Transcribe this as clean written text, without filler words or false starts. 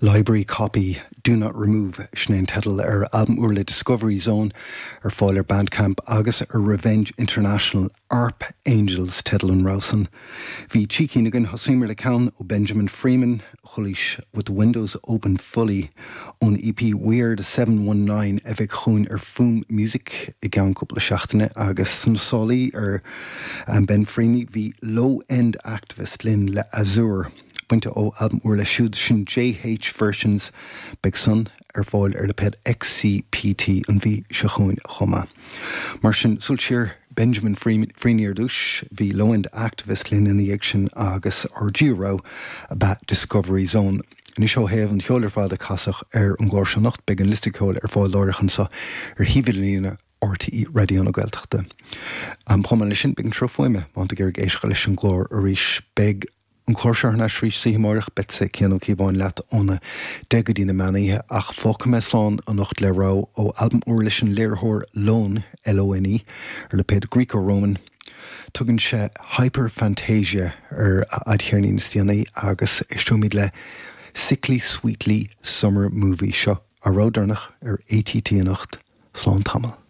Library Copy, Do Not Remove, sin é an teideal ar albam úr le Discovery Zone, ar fáil ar Bandcamp agus ar Revenge International, Arp Angels teideal an rogha san. Bhí trí cinn againn, thosaíomar le ceann ó Benjamin Freeman, Chualaís With the Windows Open Fully ón EP Weird 719 a bheidh chugainn ar Fuaim Music i gceann cúpla seachtaine agus sna sálaí ar Ben Freeman bhí Low End Activist linn le Azure bainte ó albam úr leis siúd sin JH Versions beidh san ar fáil ar lipéad XCPT an mhí seo chugainn chomh maith. Mar sin, súil siar, Benjamin Freeny ar dtús, bhí Low End Activist linn ina dhiaidh sin agus ár dtríú rogha ab ea Discovery Zone. Anois ó thaobh an cheoil ar fad a casadh ar an gclár seo anocht, beidh an liosta ceoil ar fáil láithreach anseo ar shuíomh idirlíne RTÉ Raidió na Gaeltachta. Chomh maith leis sin, beidh an sruth fuaime, má tá tú ag iarraidh éisteacht leis an gclár arís, beidh. An clár seo thar n-ais arís oíche amárach, beidhse Cian Ó Cíobháin leat óna 10 go dtí na meán oíche, ach fágfaidh mé slán anocht le rogha ó albam úr leis an léiritheoir Lone, L-O-N-E, ar lipéad Greco Roman. Tugann sé Hyperfantasia ar a fhadcheirnín is déanaí agus éisteoimid le Sickly Sweetly Summer Movie. Seo ár rogha deireanach ar ATT anocht. Slán tamall.